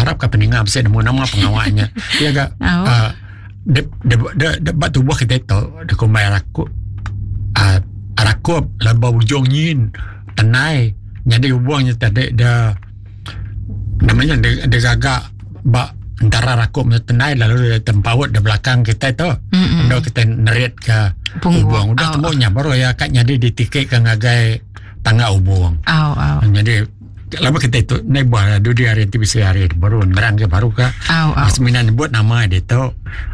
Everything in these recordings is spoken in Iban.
Harap ka peninga bisi nemu nama pengawa nya. Iya ga Oh. uh, de, de, de, de, ba tubuh kita tu dikumbai rakup uh, rakup lalu ba ujung nyin tenai nyadi hubung nya tadi de namanya de, digaga ba entara rakup enggau tenai lalu dia tempaut di belakang kita tu. Mm-mm. Endo kita nerit ke Punggung. hubung. Udah Oh. temu nya baru iya ka nyadi ditikik ke ngagai tangga hubung. Au au. Jadi lama kita tu nai buah dudi hari ti bisi hari baru nerang ke baru ka. Au au. Semina nyebut nama dia tu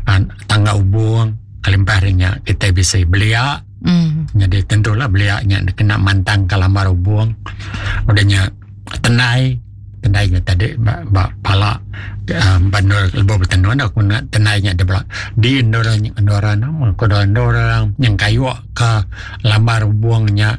ah, tangga hubung kelimpah hari nya kita bisi belia. Mm. Jadi tentulah belia nya kena mantang ke lambar hubung. Udah nya tenai tenai nya tadi ba, ba pala uh, bandar lebuh bertenun aku nak tenai nya dia di endur endur nama ko endur orang yang kayu ke lambar hubung nya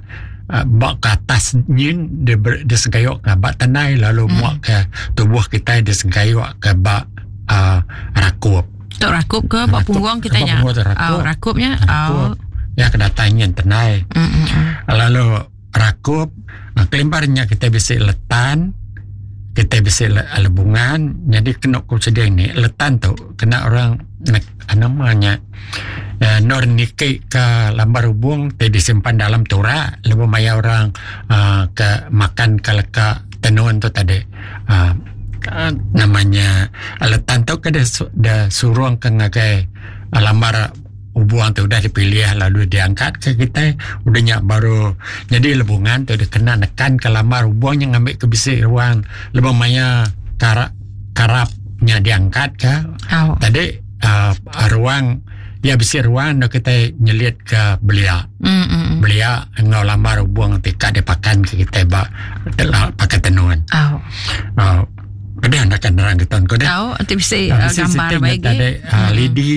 uh, ba ke atas nyin dia, ber, dia sengkayuk ke ba tenai lalu mm. muak ke tubuh kita dia sengkayuk ke ba uh, rakup. Tok rakup ke ba punggung kita nya. Punggung tu rakup. Oh, rakupnya. Rakup. Oh. Ya kedatang nyin tenai. Mm, mm, mm. Lalu rakup uh, kelimparnya kita bisi letan kita bisi le, lebungan jadi kena ku sedia ni letan tu kena orang namanya uh, nor niki ke lambar hubung ti disimpan dalam turak lebuh maya orang uh, ke makan ke leka tenun tu tadi uh, namanya letan tu ke dia, dia surung ke ngagai lambar hubung tu udah dipilih lalu diangkat ke kita udah nyak baru jadi lebungan tu dia kena nekan ke lambar hubung yang ngambil ke bisi ruang lebuh maya karap karapnya diangkat ke Au. tadi uh, ruang ya bisi ruang dah kita nyelit ke belia Mm, mm, mm. belia enggau lambar hubung ti ka dipakan ke kita ba telah pakai tenun. Au. Uh, Ada nak nerang ke tahun ko dah. Au, ti bisi Ah, uh, bisi gambar siti nya baik tadi uh, lidi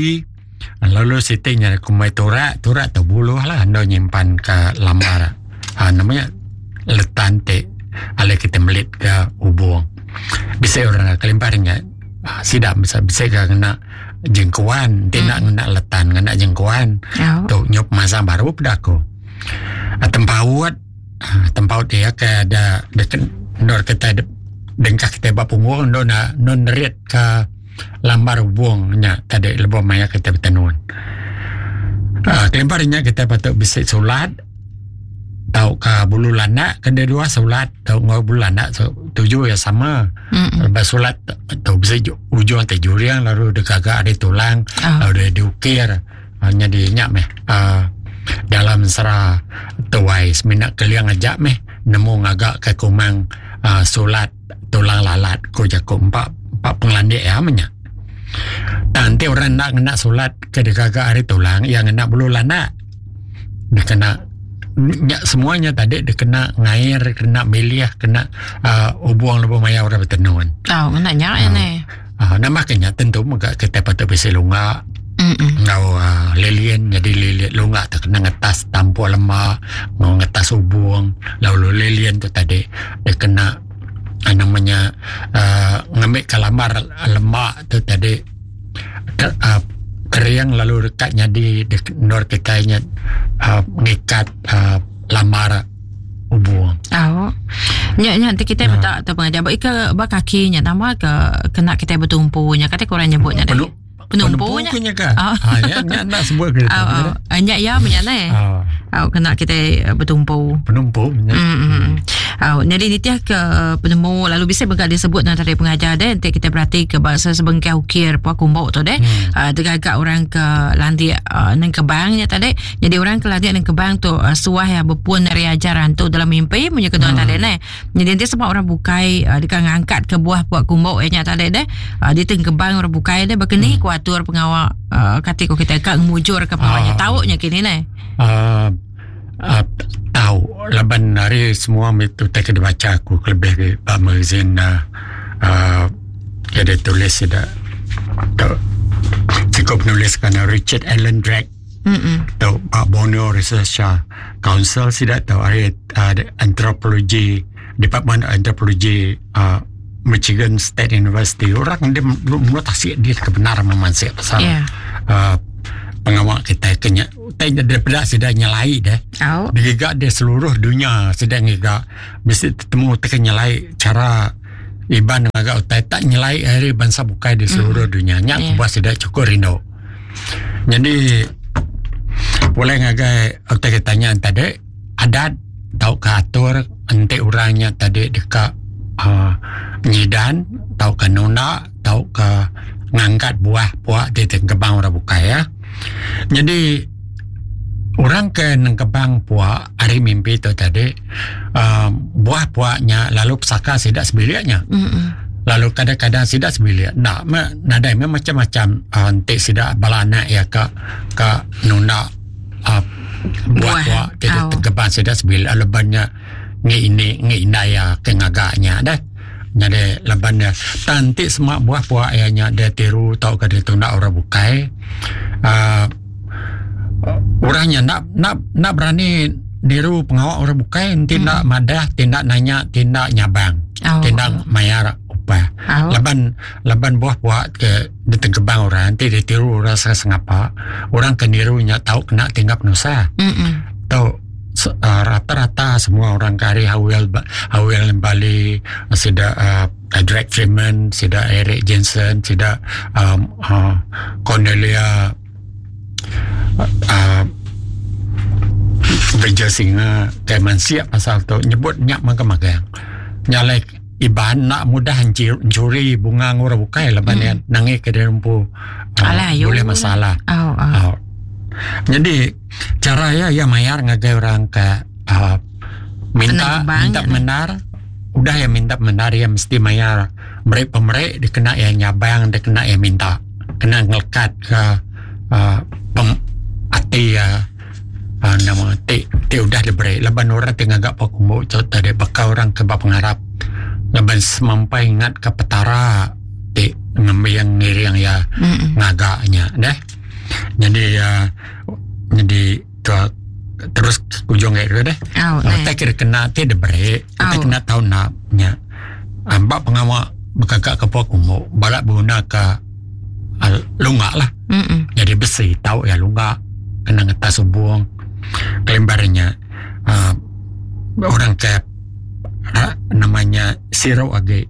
lalu siti nya kumai turak turak tu buluh lah ando nyimpan ke lambar uh, namanya letan ti alai kita melit ke hubung bisa orang kelimpah nya uh, sidak bisa bisa ke kena jengkuan ti nak ngena letan ngena jengkuan Au. tu nyup masa baru pada aku uh, tempaut uh, tempaut dia ke ada dia nor kita dengkah kita ba punggung no na no nerit ke lambar hubung nya tadi lebuh maya kita bertenun. Uh, kelimpah nya kita patut bisi sulat tau ke bulu landak kena dua sulat tau ngau bulu landak so, tuju ya sama. Mm, mm. Lepas sulat tau bisi ujung te juriang lalu degagak ada tulang Au. lalu dia diukir hanya di nyak meh uh, dalam sera tuai semina keliang ajak meh nemu ngagak ke kumang uh, sulat tulang lalat ko jago empat empat pengelandik ya menya. Nanti orang nak ngena sulat ke degagak hari tulang yang ngena bulu lanak dia kena nyak semuanya tadi dia kena ngair kena miliah kena uh, ubuang lebuh maya orang bertenun. Au, ngena nya Ah. ni. Uh, nama kenya tentu mega kita patut bisi lunga Mm, mm. ngau uh, lilin jadi lilin lunga tu kena ngetas tampuk lemak ngau ngetas hubung lalu lilin tu tadi dia kena uh, namanya uh, ngambil kalamar lemak tu tadi ke, uh, kering lalu dekat jadi di nor kita nya uh, ngikat uh, lamar hubung Au. Nya nya nanti kita Ah. betak tu pengajar. Ba ke ba kaki nya nama ke kena kita bertumpu nya kata kurang nyebut nya. Penu- Penumpu nya. nya ke? Ah. Ah, ya, nya nak sebut ke Au au. Ah, Nya ya nya ne. Ah, Au kena kita eh, bertumpu. penumpu nya. Mm, mm. Au, jadi nitiah ke penemu lalu bisa bengkak disebut dengan tadi pengajar deh nanti kita berhati ke bahasa sebengkah ukir puak kumbuk tu deh. Hmm. Uh, tergagak orang ke landik uh, neng kebang nya tadi. Jadi orang ke landik neng kebang tu uh, suah yang berpun dari ajaran tu dalam mimpi punya kedua tadi ne. Jadi nanti sebab orang bukai uh, dekat ngangkat ke buah puak kumbuk nya tadi deh. Uh, dia teng kebang orang bukai deh berkeni hmm. kuatur pengawak uh, kati ko kita kak ngemujur ke pengawaknya Ah. tahu nya kini ne. uh, uh, tahu laban hari semua itu tak kena baca aku lebih ke ba magazine uh, uh, ada tulis ada tu cukup penulis kerana Richard Allen Drake Hmm. tu Pak Borneo Research Council sidak tu hari uh, anthropology Department of Anthropology uh, Michigan State University orang dia menurut tasik dia kebenaran memansik pasal Yeah. uh, pengawak kita kenya tanya daripada sudah nyelai dah Au. digiga di seluruh dunia sedang giga mesti ketemu tekan nyelai cara Iban ngaga utai tak nyelai ari bansa bukai di seluruh dunya. Nya kebuah sida chukup rindu. Nyadi pulai ngagai utai ke tanya tadi adat tauka atur enti orang nya tadi deka uhh nyidan tauka nunda tauka ngangkat buah puak ti tengkebang orang bukai ya. Nyadi orang ke nengkebang puak ari mimpi tu tadi uhh buah puak nya lalu pesaka sida sebilik nya. Lalu kadang-kadang sida sebilik enda meh nadai meh macam-macam uhh enti sida bala anak iya ka ka nunda uhh buah puak ti tengkebang sida sebilik laban nya ngi ini ngi indai iya ke ngaga nya deh. Nyadi laban iya tang enti sema buah puak iya nya deh tiru tauka ditunda orang bukai uhh orang nya enda enda enda berani niru pengawa orang bukai enti enda madah ti enda nanya ti enda nyabang ti enda mayar upah laban laban buah puak ke ditengkebang orang enti ditiru orang sengapa orang ke niru nya tau kena tinggap penusah tu rata-rata semua orang ke ari Howell Howell Bali sida uhh Drake Freeman sida Eric Jensen sida uhh Cornelia uhh Vijay Singa ke mansik pasal tu nyebut nya magang-magang. Nya alai Iban enda mudah enchuri bunga enggau orang bukai laban iya nangi ke diri empu bulih masalah. Nyadi chara iya iya mayar ngagai orang ke uhh minta minta pemendar udah iya minta pemendar iya mesti mayar meri pemeri dikena iya nyabang dikena iya minta kena ngelekat ka uhh ati iya. uhh nama ti ti udah diberi laban orang ti ngaga pok umbu tu tadi baka orang ke ba pengarap laban semampai ngat ka petara ti ngembing ngiring iya ngaga nya deh. Nyadi uhh nyadi ke terus ujung agi tu deh. Utai ke dikena ti diberi utai kena tau enda nya ba pengawa begaga ke pok umbu bala beguna ka lunga lah. Nyadi besi tau iya lunga kena ngetas ubung kelimpah ari nya uhh orang ke nama nya siru agi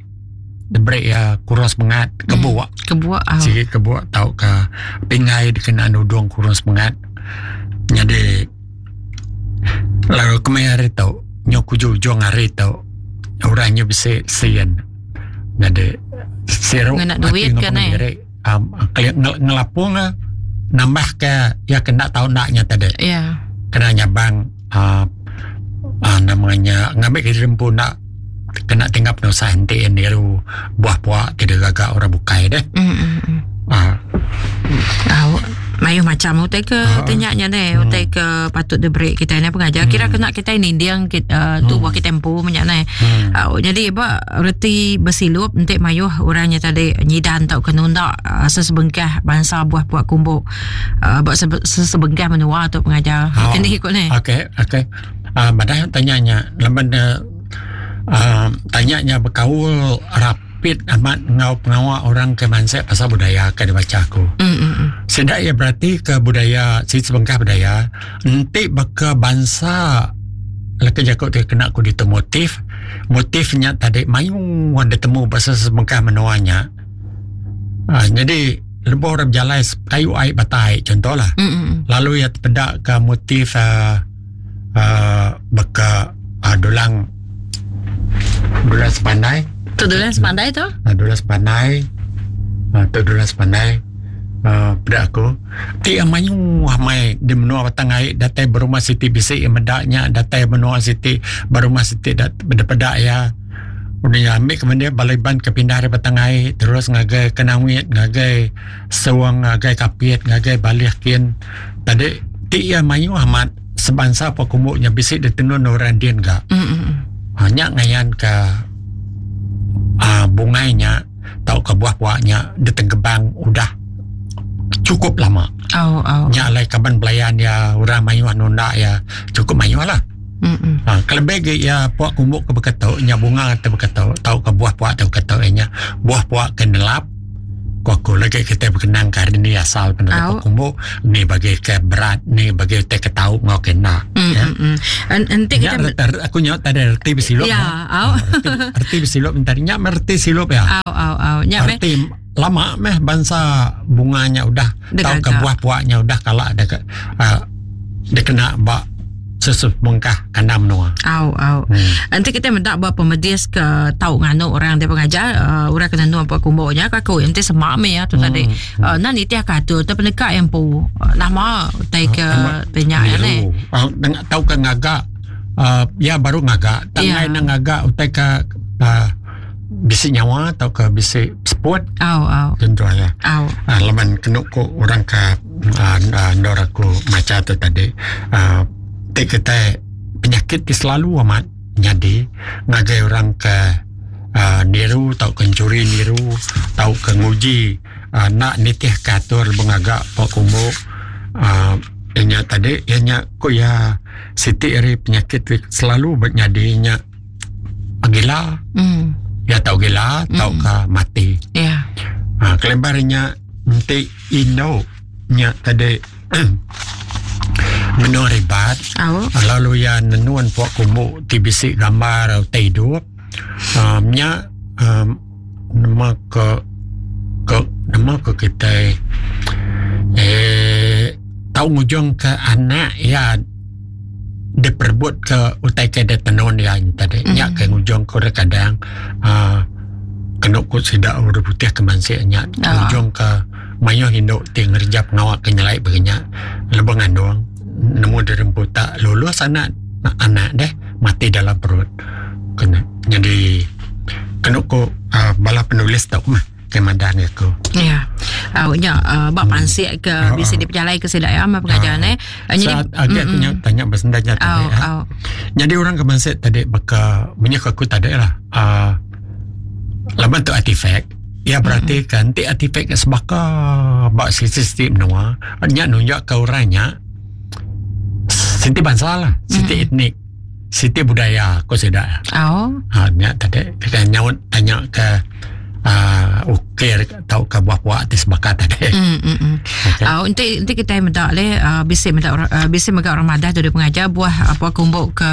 diberi iya kurung semengat kebuk sigi kebuk tauka pingai dikena nudung kurung semengat nyadi lalu kemaya hari tu nyau ke ujung ujung hari tu orang nya bisi sin nyadi siru ati enggau pengiri. Um, ngelapung eh, nambah ke ya kena tau nak nya tadi. Ya. Kena nyabang uh, uh, namanya ngambil ke diri empu nak kena tinggal penusah enti yang niru buah puak ti digaga orang bukai deh. Mm. Mayuh macam utai ke uh, tanya nya deh, hmm. utai ke patut diberi kita ni pengajar. Kira kena kita ninding kita, uh, tu buah kita empu banyak ni. Jadi ba reti besilup enti mayuh orang nya tadi nyidan tauka nunda sesebengkah bansa buah puak kumbu ba sesebengkah menua tu pengajar. Oh. Kini ikut ni. Okey, okey. Madah tanya nya laban uh, tanya nya bekaul rapit amat enggau pengawa orang ke mansik pasal budaya ke dibaca aku. Sida iya berati ke budaya si sebengkah budaya enti baka bansa leka jaku ti kena ku ditu motif motif nya tadi mayuh ditemu ba sesebengkah menua nya uhh nyadi lebuh orang bejalai kayu ai batang ai contoh lah lalu iya tepeda ka motif uhh uhh baka uhh dulang dulang sepandai. Tu dulang sepandai tu? Dulang sepandai uhh tu dulang sepandai uhh peda aku. Ti iya mayuh amai di menua Batang Ai datai berumah siti bisi iya meda nya datai menua siti berumah siti peda iya udah nya ambi ke mende bala Iban ke pindah ari Batang Ai terus ngagai Kanowit ngagai Song ngagai Kapit ngagai Baleh kin tadi ti iya mayuh amat sebansa pa kumbu nya bisi ditenun orang din ga. Nya ngayan ka uhh bungai nya. tauka buah puak nya ditengkebang udah chukup lama. Oh, oh. Nya alai kaban belayan iya orang mayuh nunda iya chukup mayuh lah. Ha, kelebih agi iya puak kumbu ke baka tu nya bunga te baka tu tauka buah puak te baka tu iya nya buah puak ke nelap. Ku aku lagi kitai bekenang ke hari ni asal penatai Au. pok kumbu ni bagi ke berat ni bagi utai ke tau enggau ke enda. Mm, Ya. mm, mm. En- Enti Nya kita reti, aku nyaut tadi reti besilup. Ya, ya. au. Reti, reti besilup tadi nya mereti silup ya. Au au au. Nya meh. Reti lama meh bansa bunga nya udah Deka tauka ga. buah puak nya udah kala deka uh, dikena ba sesebengkah kandang menua. Au au. Enti kita meda ba pemedis ke tau nganu orang dia pengajar uh, orang kena nuan puak kumbu nya ka aku enti semak meh ya tu hmm. tadi. Uh, nan nitih ka atur tu peneka yang empu. Uh, nama utai ke uh, tanya ya ne. Uh, tau ke ngaga uh, ya baru ngaga. Tangai yeah. nang ngaga utai ke uh, bisi nyawa atau ke bisi seput. Au au. Tentu ya. Au. Uh, laban kenu ko orang ke uh, uh, ndor aku macha tu tadi uh, ti kitai penyakit ti selalu amat nyadi ngagai orang ke uh, niru tauka enchuri niru tauka nguji uh, enda nitih ke atur bengaga pok kumbu uh, inya tadi iya nya ku iya siti ari penyakit ti selalu nyadi nya gila mm. ya tau gila mm. tauka mati ya yeah. uh, kelebar nya enti indu nya tadi menua ribat Au. lalu iya nenun puak kumbu ti bisi gambar utai idup um, nya um, nama ke ke nama ke kitai eh tau ngujung ke anak iya diperebut ke utai ke ditenun iya tadi mm. nya ke ngujung ke orang kadang uh, kenu ku sida orang putih ke mansik nya oh. ngujung ke mayuh indu ti ngereja pengawa ke nyelai bagi nya lebuh ngandung nemu diri empu tak lulus anak anak deh mati dalam perut kena jadi kenu ku uh, bala penulis tu mah ke madah ngi aku. Ya. Au nya uh, ba hmm. pansik ke hmm. bisi dipejalai ke sida ya pengajar ne. Uh, jadi agi aku nya tanya besenda nya tadi. Au, au. Jadi orang ke pansik tadi baka menyek aku tadi lah. Uh, laban tu artifak Ya berarti mm. kan ti artifak ke sebaka ba sisi siti menua nya nunjuk ke orang nya siti bangsa lah, siti mm. etnik, siti budaya ko sida. Oh. Ha nya tadi kita nyaut tanya ke uh, ukir tauka buah puak ti sebaka tadi. Mm, mm, mm. Okay. Enti enti kita meda le uh, bisi meda uh, bisi mega orang madah tu dia pengajar buah apa kumbuk ke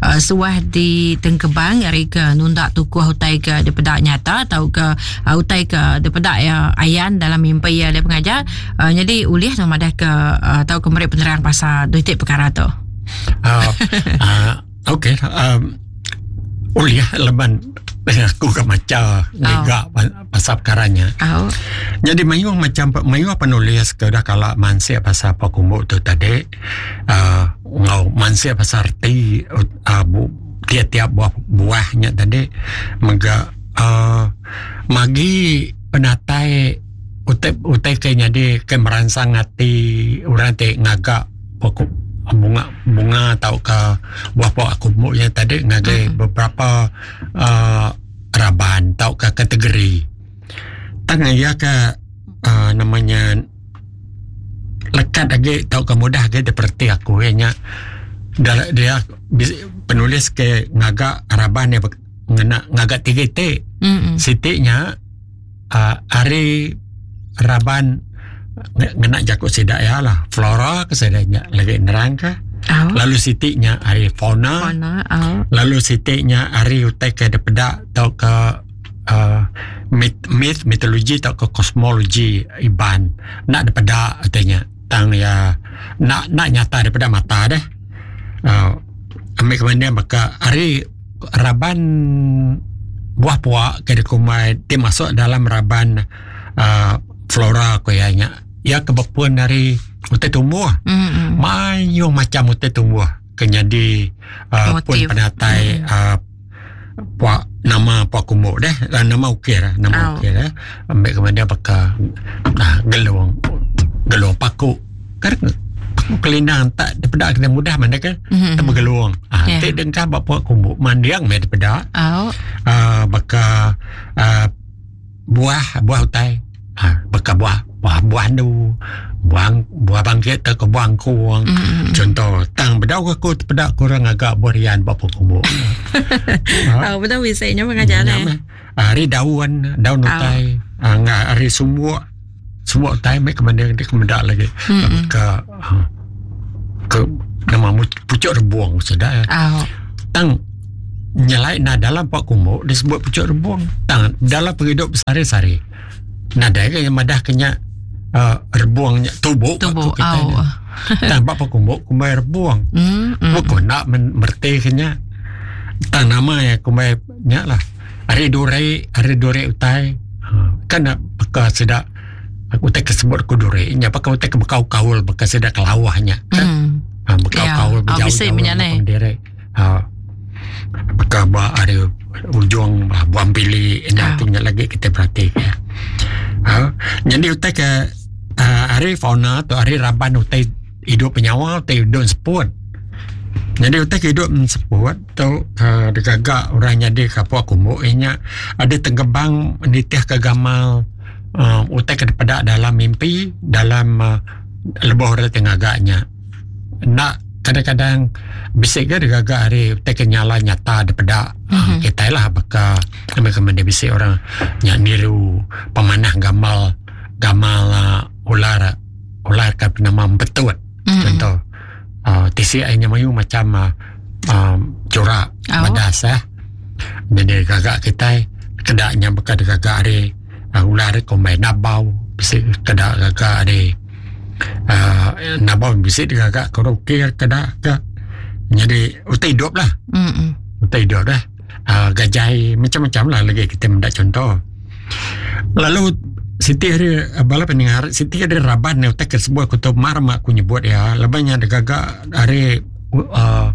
uh, suah di tengkebang ari ke nunda tukuh utai ke dipeda nyata tau ke uh, utai ke dipeda ya ayan dalam mimpi ya le pengajar uh, jadi ulih tu madah ke uh, tau ke meri penerang pasal dua iti perkara tu. Uh, okey um, ulih laban aku ke macha ngiga oh. pasal perkara nya. Oh. Jadi mayuh macam mayuh penulis ke dah kala mansik pasal apa kumbu tu tadi uh, ngau mansik pasal reti uh, bu, tiap-tiap buah buahnya tadi mega uh, magi penatai utai utai ke nyadi ke meransang ati orang ti ngaga pokok bunga bunga tauka buah pok aku mu nya tadi ngagai mm. beberapa uh, raban tauka kategori. Tang iya ke uh, namanya lekat agi tauka mudah agi diperti aku iya nya dia penulis ke ngaga raban dia ngena ngaga tiga iti. Mm-hmm. Siti nya uh, ari raban ngena jaku sida iya lah flora ke sida nya lagi nerang ke oh. lalu siti nya ari fauna, fauna oh. lalu siti nya ari utai ke dipeda tauka uh, myth, myth mitologi tauka kosmologi Iban nak dipeda utai nya tang iya nak nak nyata daripada mata deh uh, ambil kemudian baka ari raban buah puak ke dikumbai ti masuk dalam raban uh, flora ko iya nya iya ke bepun ari utai tumbuh mm-hmm. mayuh macam utai tumbuh ke nyadi uh, pun penatai mm. uh, puak nama puak kumbu deh nama ukir nama Oh. ukir eh ambil kemudian baka nah, gelung gelung paku kan paku kelindang tak daripada kena mudah mana ke Mm-hmm. tak bergelung ah Yeah. yeah. dengkah ba puak kumbu mandiang meh daripada Oh. uh, baka uh, buah buah utai ah baka buah Buah buah andu, buah buah bangkit tauka buah angkung. Mm-hmm. Contoh, tang bedau ke aku tepeda ke orang ngaga buah rian ba pun kumbu. ha. Oh, bedau bisi nya pengajar ne. Ari daun, daun utai, oh. uh, ari sumbuk, sumbuk utai mek kemending dia kemeda lagi. Mm-hmm. Ke ke nama pucuk rebung sudah. Oh. Tang nyelai na dalam pak kumbu disebut pucuk rebung. Tang dalam penghidup sehari-hari. Nadai ke madah ke nya uh, rebung nya tubuk tubuh kita oh. Tang ba kumbu kumbai rebung. Mm, mm. Bukan nak merti ke nya. Tang nama ya kumbai nya lah. Ari duri, ari duri utai. Ha, kan nak baka sida aku utai ke sebut ku duri nya baka utai ke bekau kaul baka sida kelawah nya. Kan? Mm. Ha, bekau Ya. kaul Oh, bejauh bisi jauh punya ni. diri. Ha, baka ba ari ujung ba buah empili enda Ah. tu nya lagi kita perhati ke. Ha, jadi utai ke uh, ari fauna tu ari raban utai hidup penyawa utai hidup seput. Jadi utai ke hidup seput tu uh, digaga orang nyadi ke puak kumbu inya ada tenggebang nitih ke gamal uh, utai ke dipeda dalam mimpi dalam uh, lebuh orang ti ngaga nya. Enda kadang-kadang bisi ga digaga ari utai ke nyala nyata dipeda mm-hmm. kitai lah baka kami dia bisi orang nya niru pemanah gamal gamal uh, ular ular ke nama empetut Mm-mm. contoh uh, tisi ai nya mayu macam uh, um, corak Oh. badas eh jadi gaga kitai keda nya baka digaga ari uh, ular kombai nabau bisi keda gaga ari uh, nabau bisi digaga ke ukir keda ke jadi utai hidup lah Mm-mm. utai hidup dah uh, gajai macam-macam lah lagi kita mendak contoh lalu Siti hari bala pendengar Siti ada raban ni utai ke sebuah aku tu mar mak aku nyebut ya laban nya digaga hari uh,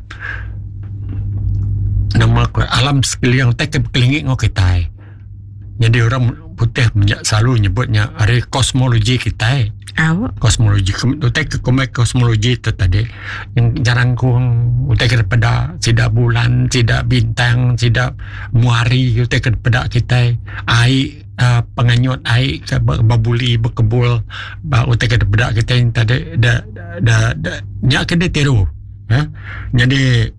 nama aku alam sekeliling utai ke bekelingi ngau kitai jadi orang putih selalu nyebutnya hari kosmologi kitai Au. Kosmologi utai ke kumbai kosmologi tu tadi yang jarangkung utai ke peda sida bulan sida bintang sida muari utai ke peda kitai ai uh, penganyut ai ke bebuli bekebul ba utai ke peda kitai tadi da da, da nya ke ditiru ya jadi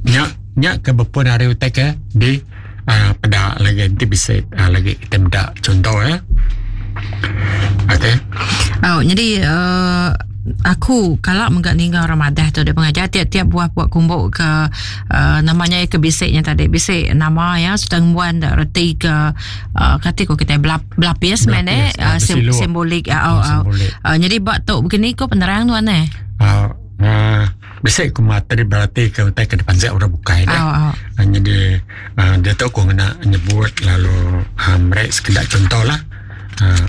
nya nya ke bepun ari utai ke di uh, peda lagi enti bisi uh, lagi kita meda contoh ya. Okey. Oh, jadi uh, aku kalau mega ninggal orang madah tu dia pengajar tiap-tiap buah buah kumbuk ke uh, namanya ke bisiknya tadi bisik nama ya sudah ngembuan reti ke uh, kati ko kita belap, belapis Belapis, men eh ah, uh, sim, bersilup. simbolik uh, Ah, oh, oh. simbolik. Uh, jadi bak tu begini ko penerang tuan eh. Uh, uh, bisi ku materi berarti ke utai ke depan orang bukai dah. Oh, oh. Uh, jadi uh, dia tu aku kena nyebut lalu uh, mereka sekedar contoh lah. Uh,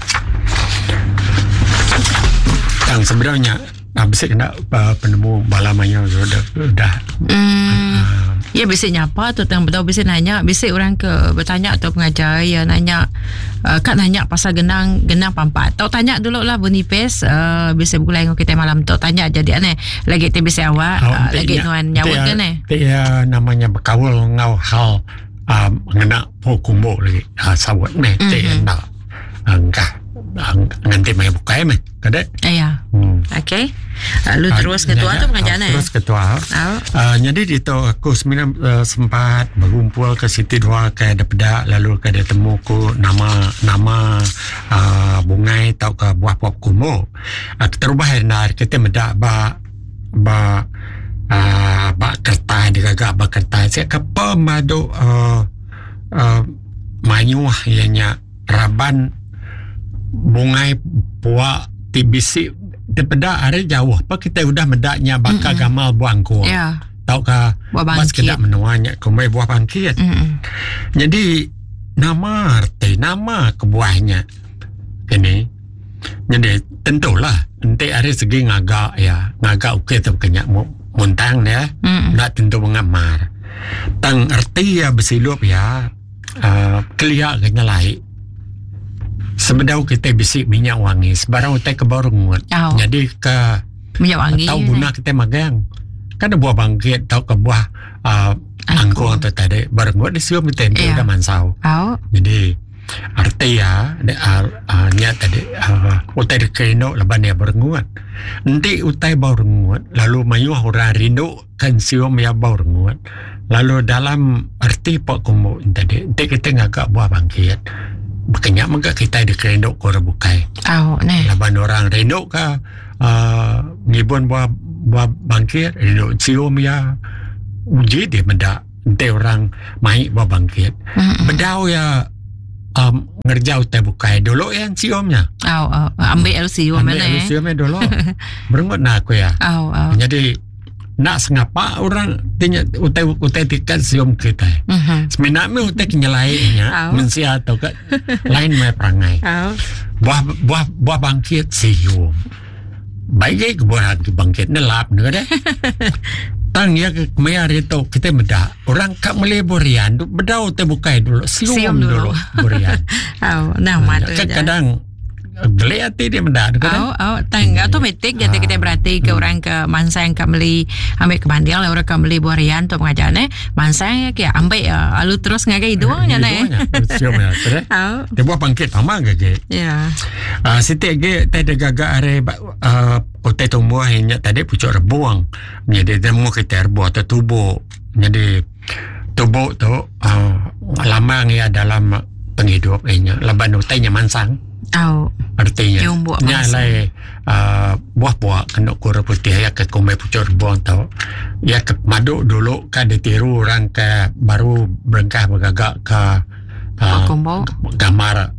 tang sebenarnya uh, bisi kena uh, penemu bala maya sudah dah Hmm. Ya bisik nyapa tu tang betul bisik nanya bisik orang ke bertanya atau pengajar ya nanya uh, kat nanya pasal genang genang pampat. Tau tanya dulu lah Bonipes uh, bisik begulai dengan kita malam tu tanya jadi aneh lagi ti bisik awak Oh, uh, enti lagi nya- nuan enti nyawut ya- kan eh. enti ya namanya berkaul ngau hal um, ngena po kumbu lagi uh, sawut meh mm-hmm. Mhm. enda engkah nganti mai bukai meh kada Ya. hmm. Okey. Lalu terus ketua tu pengajar eh. Terus ketua. Oh. Uh, jadi di tu aku sebenarnya uh, sempat berkumpul ke Siti Dua ke ada peda lalu ke ada temu ku nama nama uh, bungai atau ke buah pop kumbu. Uh, terubah hendar kita medak ba ba uh, ba kertas digaga ba kertas saya ke pemadu uh, uh, mayuh ianya raban bungai puak ti bisi daripada hari jauh apa kita udah medaknya bakal mm-hmm. gamal buah angkur Ya. tauka Buah bas bangkit. kedak menuanya kumbai buah bangkit Mm-mm. jadi nama arti nama kebuahnya ini jadi tentulah enti hari segi ngagak ya ngagak okey tu kenya muntang ya Mm-mm. nak tentu mengamar tang erti ya bersilup ya uh, keliak kena laik sebedau kita bisik minyak wangi sebarang utai ke baru ngut Oh. jadi ke Minyak wangi. tahu guna kita magang kan ada buah bangkit tau ke buah uh, angkung atau tadi baru ngut disium kita Ya. yeah. udah mansau Oh. jadi arti Reti iya nya tadi utai deka rindu laban iya berengut. Enti utai bau rengut lalu mayuh orang rindu konsium iya bau rengut lalu dalam reti pak kumbu nya tadi enti kita ngaga buah bangkit baka nya mega kitai deka rindu ke orang bukai. Laban orang rindu ka uhh ngibun buah buah bangkit rindu sium iya uji deh meda. Enti orang mai ba bangkit. Mm-hmm. Bedau ya um, ngerja utai bukai dulu ya sium nya. Au au ambil sium ambil eh. sium dulu. Berengut na aku ya. Au au. Jadi nak sengapa orang tinya utai utai tikat sium kita. Mm-hmm. Semina mi utai kenyelai nya mensia atau ke lain mai perangai. Au. Buah buah buah bangkit sium. Baik ke buah bangkit nelap ne deh. Tang iya ke kemaya hari tu kita meda orang ka meli burian bedau te bukai dulu sium, sium dulu, dulu burian. Au nah mat. Kadang geli ati dia meda tu kan. Au au tang hmm. automatik jadi kita berarti ke hmm. orang ke mansang ka meli ambil ke banding lah orang ka meli buah rian tu pengajar ne mansang ya ke ambil ya alu terus ngagai hidung nya ne. Sium ya. Au. Dia buah bangkit pama ke ke. Ya. Uh, siti agi tai digaga ari uh, utai tumbuh nya tadi pucuk rebung. Jadi nemu kita rebung atau tubuh. Jadi tubuh tu uh, lambang ia dalam penghidup inya laban utai nya mansang. Oh. Artinya nya alai uh, buah puak kena kura putih ya ke kumbai pucuk rebung tu. Ya ke madu dulu kan ditiru orang ke baru berengkah bergagak ke uh, gambar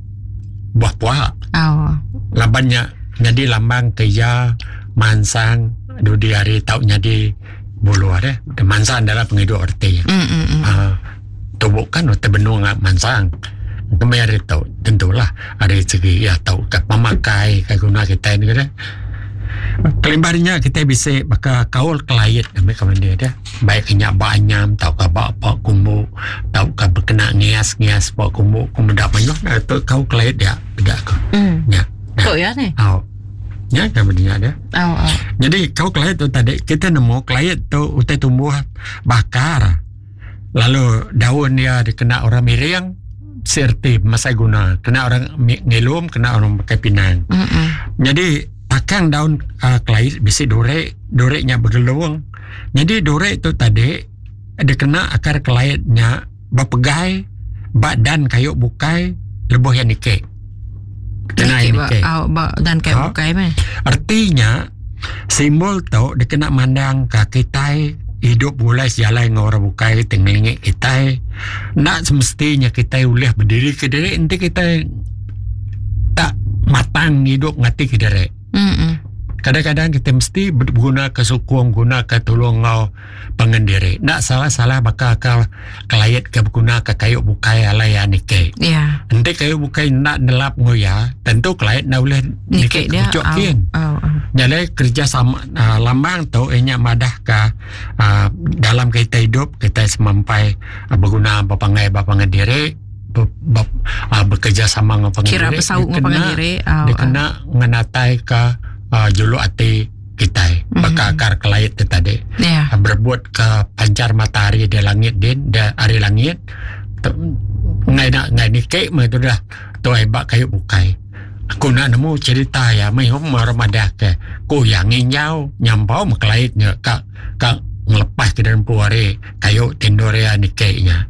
buah puak. Oh. Laban nya nyadi lambang ke iya mansang dudi hari tau nyadi buluh deh. Mansang dalam pengidup erti. Mm, mm, mm. Uh, tubuh kan utai benung mansang. Kemai hari tu tentulah hari segi ya tau ke pemakai ke guna kita ni deh. Kelimpah nya kita bisa baka kaul kelait ambil kawan dia deh. Baik nya ba anyam tauka ba pa kumbu tauka bekena ngias-ngias pa kumbu ku meda mayuh dah tu kau kelait dia peda ko. Mm. Nya. Tu ya ni. Au. Nya kan benda dia. Au au. Jadi kau kelait tu tadi kita nemu kelait tu utai tumbuh bakar. Lalu daun dia dikena orang miring serti masai guna kena orang ngilum kena orang pakai pinang. Mm -mm. Jadi takang daun uh, kelait bisi durek, durek nya bergelung. Nyadi duri tu tadi dikena akar kelait nya bepegai ba dan kayu bukai lebuh iya niki. Kena iya niki. Ba, ba dan kayu ha? bukai meh. Erti nya simbol tu dikena mandang ka kitai hidup begulai sejalai enggau orang bukai ti ngelingi kitai. Enda semestinya kitai ulih bediri kediri enti kitai tak matang hidup ngati kediri. Kadang-kadang kita mesti beguna ke sukung, guna ke tulung enggau pangan diri. Enda salah-salah baka ke kelait ke beguna ke kayu bukai alai iya niki. Yeah. Enti kayu bukai enda nelap enggau iya, tentu kelait enda ulih niki ke puchuk kin. Oh, oh. Nya alai kerjasama uh, lambang tu iya nya madahka uh, dalam kita hidup kita semampai uh, beguna bepangai ba pangan diri bekerjasama enggau pangan diri dikena dikena ngenataika juluk ati kitai baka akar kelait ti tadi berebut ka panchar matahari di langit din di ari langit enggai enda enggai niki meh tu dah tuai ba kayu bukai. Aku enda nemu cherita iya meh orang madah ke ku iya nginjau nyampau meh kelait nya ka ka ngelepas ke diri empu ari kayu ti endur iya niki nya.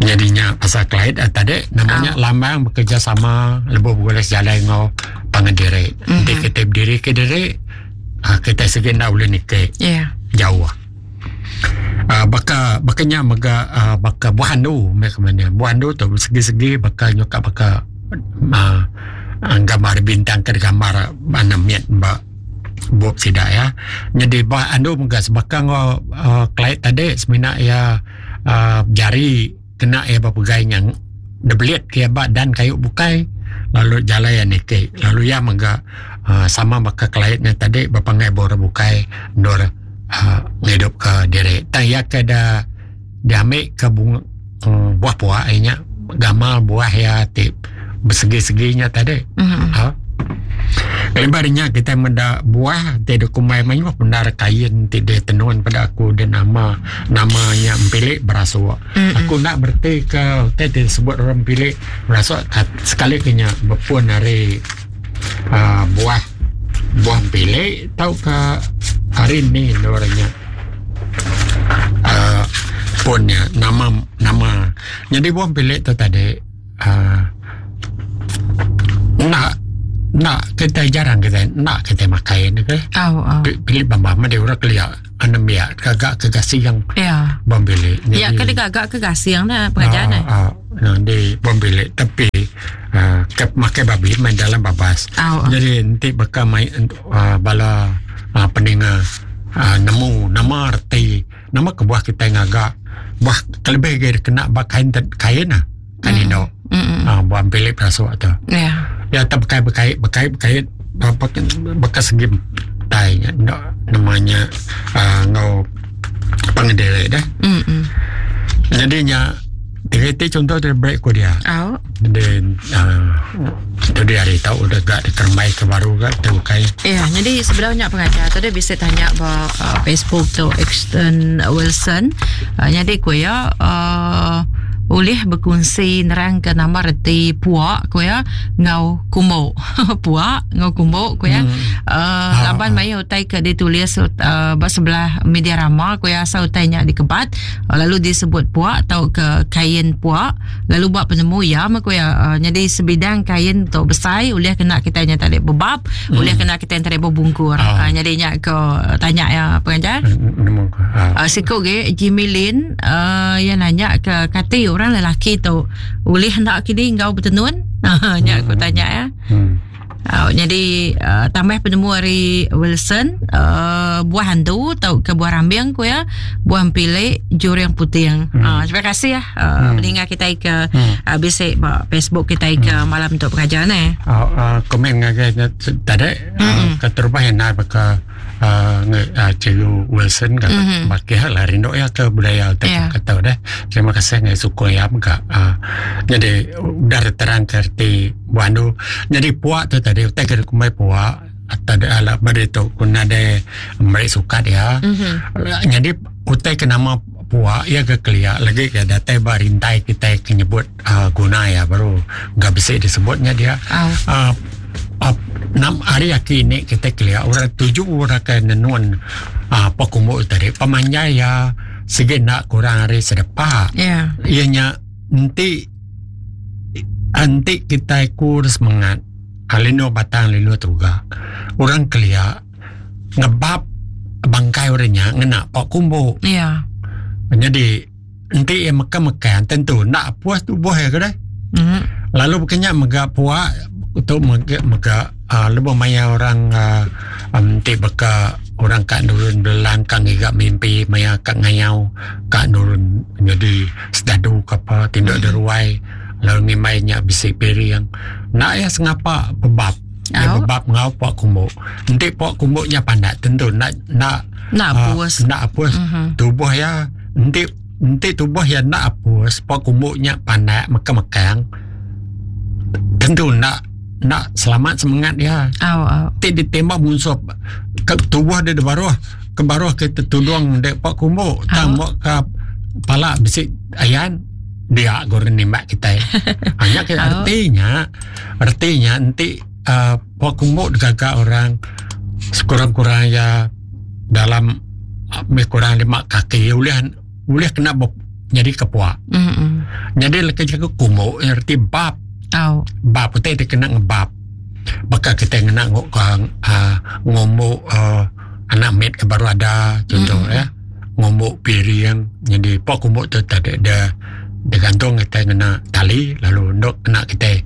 Nyadi nya pasal kelait tadi nama nya lambang bekerjasama lebuh begulai sejalai enggau pangan diri. Enti kitai bediri kediri uhh kitai sigi enda ulih niki jauh. uhh Baka baka nya mega uhh baka buah andu meh ke mene. Buah andu tu segi-segi baka nyuka baka uhh gambar bintang ke digambar anak mit ba bup sida iya. Nyadi buah andu mega sebaka enggau uhh kelai tadi semina iya uhh jari kena iya bepegai nya dibelit ke iya ba dan kayu bukai lalu jalai iya niki lalu iya mega uhh sama baka kelai nya tadi bepangai ba orang bukai endur uhh ngidup ka diri. Tang iya ke da diambi ke bunga uhh buah pua iya nya gamal buah iya ti besegi-segi nya tadi. Uhh. Kelimpah ari nya kitai meda buah ti dikumbai mayuh bendar kain ti ditenun peda aku da nama nama nya empilik berasuk. Aku enda bereti ke utai ti disebut orang empilik berasuk sekali ke nya bepun ari uhh buah buah empilik tauka ari ni endur nya uhh pun nya nama nama. Nyadi buah empilik tu tadi uhh enda enda kitai jarang kitai enda kitai makai ne ke oh, oh. Pilih bambam madi orang kelia anembiak gaga ke gasing ya bam bilik ya ke digaga ke gasing ne pengajar ne uh, uh, di bam bilik tapi uh, ke makai babi main dalam babas oh, oh. Jadi enti baka mai uh, bala uh, peninga uh, nemu nama reti nama kebuah kitai ngaga buah kelebih agi kena ba kain kain ah kain mm. indu mm. ah buah bilik perasuk tu ya ya tak bekai bekai bekai bekai apa bekas segi tai nya enda namanya uh, ngau pangedele dah mm. Jadi nya Tiga contoh dari break ku dia. Oh. Jadi uh, tu dia hari tau udah gak dikerembai ke baru gak tu kai. Ya, jadi sebelumnya pengajar tadi bisa tanya ba uh, Facebook tu Exton Wilson. Uh, jadi ku ya uh, ulih berkongsi nerang ke nama reti puak ku ya ngau kumbu. Puak ngau kumbu ku ya. Hmm. Uh, laban maya utai ke ditulis uh, ba sebelah media rama ku ya asal utai nya dikebat lalu disebut puak tauka kain puak lalu ba penemu iya meh ku iya nyadi sebidang kain tu besai ulih kena kitai nya tadi bebab hmm. ulih kena kitai tadi bebungkur oh. nyadi nya ko tanya iya pengajar hmm, uh, siku ge Jimmy Lin uh, iya nanya ke kati orang lelaki tu ulih enda kini enggau betenun nya ku tanya iya hmm. Uh, jadi uh, tambah penemu ari Wilson uh, buah hantu atau ke buah rambing ku ya buah empilik juring puting. Hmm. Uh, terima kasih ya uh, hmm. mendengar kita ke hmm. uh, bisik ba Facebook kita ke hmm. malam untuk pengajar ni. Uh, uh, komen ngagai tadi hmm. uh, keterubah yang nak baka uh, Cikgu Wilson kata mm-hmm. baki hal lah rindu ya ke budaya tak yeah. kata dah. Terima kasih ngai suku ya mega. Uh, jadi udah terang ke erti buandu. Jadi puak tu tadi utai ke kumbai puak atau ada ala beri tu kuna ada meri sukat ya. Mm-hmm. Jadi utai ke nama puak ya ke kelia lagi ke datai ba rintai kita ke nyebut uh, guna ya baru enggak bisa disebutnya dia. Oh. Uh, uh, nam hari aki ni kita kelia orang tuju orang ke nenun uh, apa kumbu tadi pemanjai ya segi nak kurang hari sedepa. Yeah. Ianya enti enti kita kur semangat alino batang lino tuga orang kelia ngebab bangkai orangnya ngena pak kumbu. Yeah. Jadi enti ia makan-makan tentu nak puas tubuh ya ke deh. Mm-hmm. Lalu bukannya mega puak untuk mega mega uh, lebuh maya orang uh, enti beka orang kat nurun belang kang ngiga mimpi maya kat ngayau kat nurun jadi sedadu ke apa tindak mm. deruai lalu ngimai nya bisi piring nak ya sengapa bebab ya Oh. bebab ngau puak kumbu enti puak kumbu nya pandak tentu nak nak Nak ah, puas. nak apus Mhm. tubuh ya enti enti tubuh ya nak apus puak kumbu nya pandak mekang-mekang tentu nak nak selamat semangat ya Oh, oh. ti ditembak musuh ke tubuh dia di baruh ke baruh kita tudung dek pak kumbu tang Oh. ke pala bisi ayan dia goreng nembak kita hanya ke Oh. artinya artinya nanti uh, pak kumbu digagak orang sekurang-kurang ya dalam lebih kurang lima kaki boleh boleh kena bop, jadi kepuak Mm-mm. jadi leki jaga kumbu arti bab Oh. bab utai dia kena ngebab bakal kita kena ngok uh, ngomok uh, anak med ke baru ada contoh Mm. ya ngomok piring jadi pak kumbuk tu tak ada dia dia gantung kita kena tali lalu ndok kena kita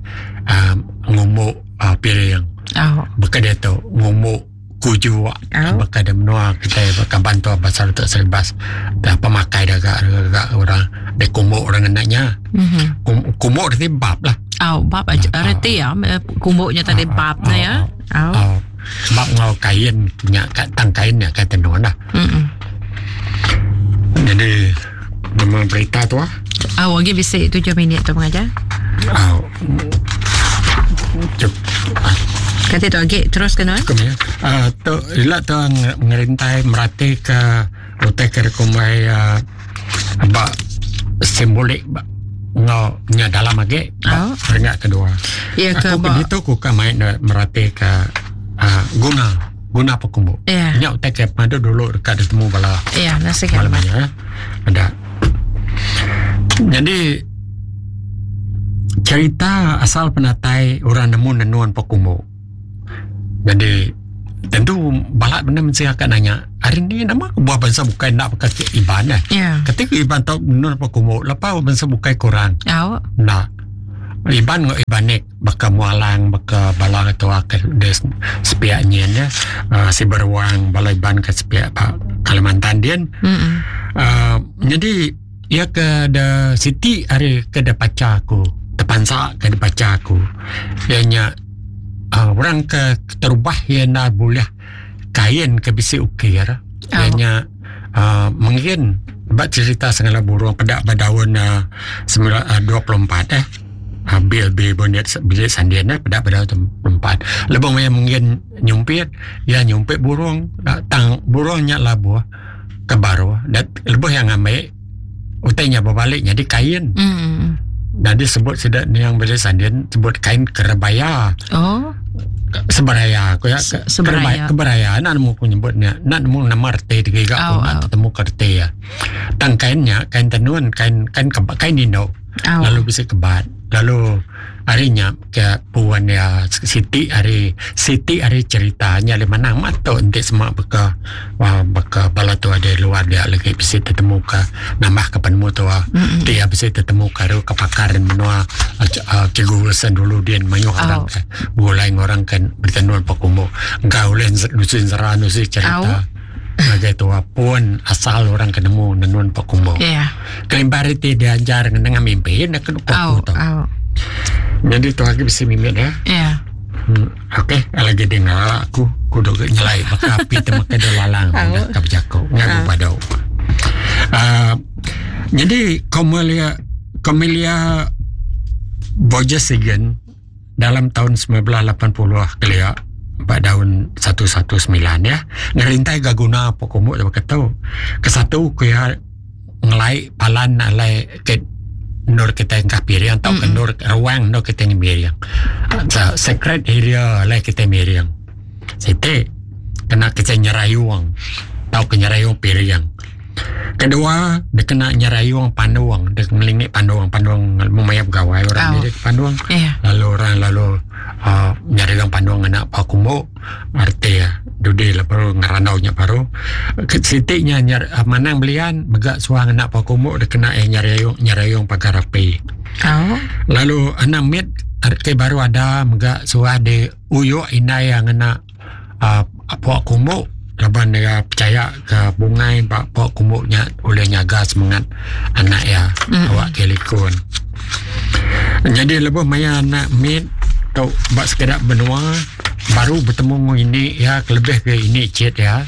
uh, ngomok uh, piring Oh. bakal dia tu ngomok kuju Oh. bakal dia menua kita bakal bantu pasal untuk seribas dah pemakai dah agak, agak orang dia kumbuk orang kenanya Mhm. Kum, kumbuk dia bab lah Oh, bab aja Ah, reti ya kumbuknya tadi Ah, bab ah, na ya. Oh. Oh, bab ngau kain nya kat tang kain nya kat tenun lah. Mm-mm. Jadi nama berita tu ah. Oh, lagi bisi 7 minit tu pengajar. Oh. Cep. Kata Kati tu agi terus ke nuan? Cukup ya. Tu ila tu ngerintai merati ke utai ke dikumbai uh, ba simbolik ba enggau nya dalam agi ba Oh. peringkat kedua. Ya ke Aku ba ke ditu ku ka mai ne merati ke uh, guna guna pekumbu. Ya. Nya utai ke padu dulu dekat ditemu bala Ya, nasi ke. malam ya. Ada. Jadi cerita asal penatai orang nemu nenun pekumbu. Jadi tentu balak benda mesti akan nanya hari ni nama buah bangsa bukai nak pakai Iban eh. Ya. Ketika Iban tau nenun pekumbu, lepas bangsa bukai kurang. Au. Nak. Iban ngau Ibanik baka mualang baka bala ketua ke des sepiak nyin ya. Si beruang bala Iban ke sepiak pak Kalimantan din. Mm. Jadi ia ke de siti hari ke de paca aku terpansa ke de paca aku. Ia nya orang ke terubah ia na boleh kain ke bisi ukir. Ia Oh. nya mungkin bak cerita segala burung pedak berdaun 24 eh. Bil bil bonet bilik sandin eh pedak berdaun 24. Lebih maya mungkin nyumpit, ya nyumpit burung tang burungnya labuh ke baru dan lebih yang ambil utainya berbalik jadi kain. Mm. Dan disebut sedak ni yang bilik sandin sebut kain kerebaya. Oh. Seberaya aku ya Seberaya. Keberaya nak nemu aku nyebutnya nak nemu nama reti tiga Oh, aku nak oh. ketemu ke reti ya. Tang kainnya kain tenun kain kain keba, kain indo. Oh. Lalu bisa kebat. Lalu harinya ke puan ya Siti hari Siti hari ceritanya le mana mato enti semak beka wah beka bala tu ada luar dia lagi bisa tetemu ke nambah ke penemu tu Mm-mm. dia bisa tetemu ke ke pakaran menua cikgu Wilson dulu dia mayuh Oh. orang ke mulai orang kan bertenun pakumo engkau boleh nusin sera nusin cerita Sebagai tua pun asal orang ketemu nenun pakumo. Ya. Kelimpah itu diajar dengan mimpi nak kena Au, kuku tu. au. Jadi tu lagi bisa mimpi ya. Ya. Okey, lagi dengar aku kudu ke nyelai baka api temu ke lalang Au. dah ka berjaku ngagu padau. Jadi Komelia Komelia Borges-Sagan dalam tahun 1980 kelia pada tahun 119 ya ngerintai gaguna apa komuk dia kata kesatu kuya ngelai palan alai ke nur kita yang piring atau ke nur ruang nur kita yang piring so, sacred area alai kita piring sete kena kita nyerayuang atau ke nyerayuang piring kedua dia kena nyerayuang panduang dia ngelingik panduang panduang memayap gawai orang Oh. dia panduang Ya. lalu orang lalu nyari orang panduang anak pak kumbu arti ya dudi lah baru ngeranaunya baru sitiknya nyar manang belian megak suang anak pak kumbu dia kena nyari nyarayung pagar api Au. lalu anak mid arti baru ada megak suah di uyuk inai yang anak pak kumbu laban dia percaya ke bungai pak pak kumbunya oleh nyaga semangat anak ya Mm. awak kelikun jadi lebih maya anak mid tau bak sekedar benua baru bertemu dengan ini ya lebih ke ini cit ya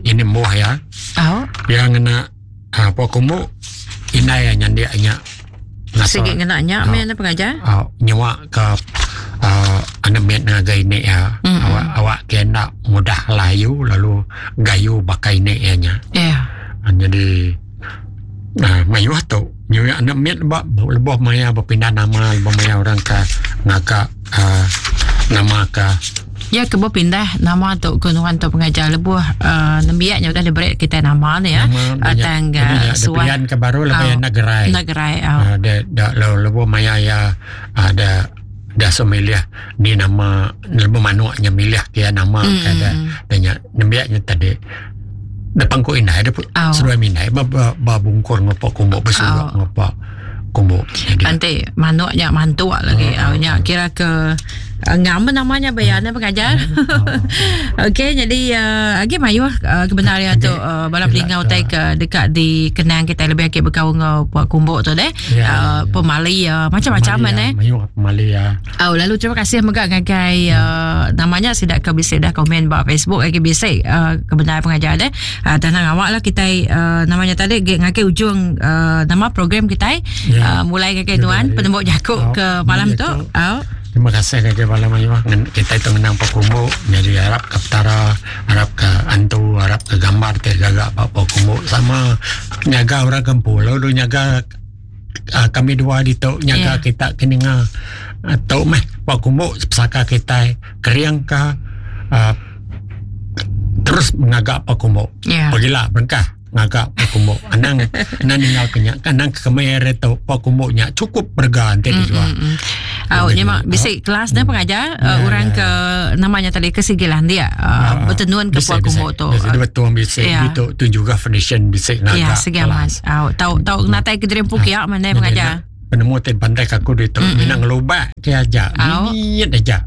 ini muah ya Au. yang kena apa kumu inai yang nyandia nya ngasa Sikit kena nyak Au. men pengajar. nyewa ke anak mid ngagai ini ya Mm-mm. awak awak kena mudah layu lalu gayu bakai ini ya nya Ya. Jadi mayuh tu nyuya anak mit ba lebih maya berpindah nama lebih maya orang ke ngakak nama ke Ya ke pindah nama tu ke nuan tu pengajar lebuh nembiaknya udah diberi kita nama ni ya. Nama Tang suah pilihan ke baru lebih Au. nak gerai. Nagerai. Au. Ada da lebih maya ya ada dah so milih ni nama lebih manuknya milih kia nama Mm. ke ada tanya nembiaknya tadi depan ku inai ada Au. seruai minai ba ba, ba bungkur ngopak kumbuk bersurak Au. ngopak kumbuk jadi Nanti manuknya mantuk lagi. Oh, Oh, nya kira ke ngam namanya bayarnya pengajar. Okey, jadi lagi mayuh kebenaran tu bala pelingau Kelak, tai ke dekat di kenang kita lebih akik berkau ngau puak kumbuk tu deh. Ya, ya. Pemali macam-macam Pemali, eh. Mayuh pemali ya. Oh, lalu terima kasih mega ngagai namanya sidak ke bisik dah komen ba Facebook lagi bisik kebenaran pengajar deh. Tenang awak lah kita namanya tadi ngagai ujung nama program kita Ya. mulai ngagai tuan Ya. penembuk jakuk Oh, ke malam tu. penembuk Oh. Terima kasih ngagai bala mayuh kitai tu ngenang Pok Kumbu nyadi arap ka Petara, arap ka antu, arap ka gambar ti gaga ba Pok Kumbu sama nyaga orang ke empu lalu nyaga uh, kami dua ditu nyaga yeah. kita ke ninga uh, tu meh Pok Kumbu pesaka kitai kering ka uh, terus ngaga Pok Kumbu. Yeah. Pagila berengkah. ngaga pok kumbu anang anang ninggal ke nya kan anang ke kemaya hari tu pok kumbu nya cukup berega enti dijual. Mm, mm, mm. Au nya mak bisi kelas dah pengajar uh, orang ke namanya tadi ke sigi landik uh, betenun ke pok kumbu tu. Bisi betul bisi yeah. tu tu juga foundation bisi ngaga. Ya sigi amat. Au tau tau natai ke diri empu kia mana pengajar. Penemu ti pandai ke aku ditu mm-hmm. mina ngelubak ke aja. Mimit aja.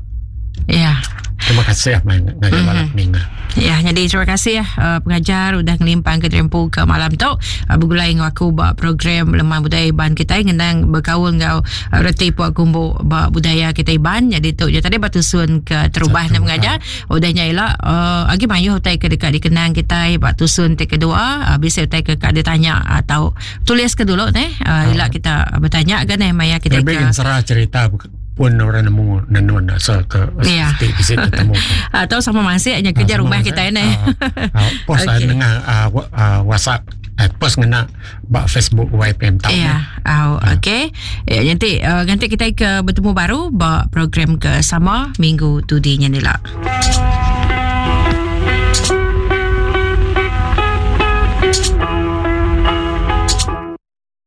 Ya. Terima kasih mai ngagai mm-hmm. bala peninga. Ya, jadi terima kasih uh, pengajar udah ngelimpang ke terempu ke malam tu uh, begulai enggau aku ba program Lemah Budaya Iban kita ngenang berkaul enggau uh, reti puak kumbu ba budaya kita Iban. Jadi tu je tadi batusun ke terubah nak pengajar. Udah nya ila uh, agi mayuh utai ke dekat dikenang kita ba tusun ti kedua uh, bisa utai ke ka ditanya atau tulis ke dulu neh uh, ila kita bertanya ke neh maya kita lebih ke serah cerita pun orang nemu nenun asal ke yeah. ti bisi ketemu atau sama masih nya kerja rumah kita neh uh, post okay. nengah uh, uh, WhatsApp uh, post ngena ba Facebook YPM tau ya yeah. uh, okey ya nanti uh, nanti kita ke bertemu baru ba program ke sama minggu tu di nya nila.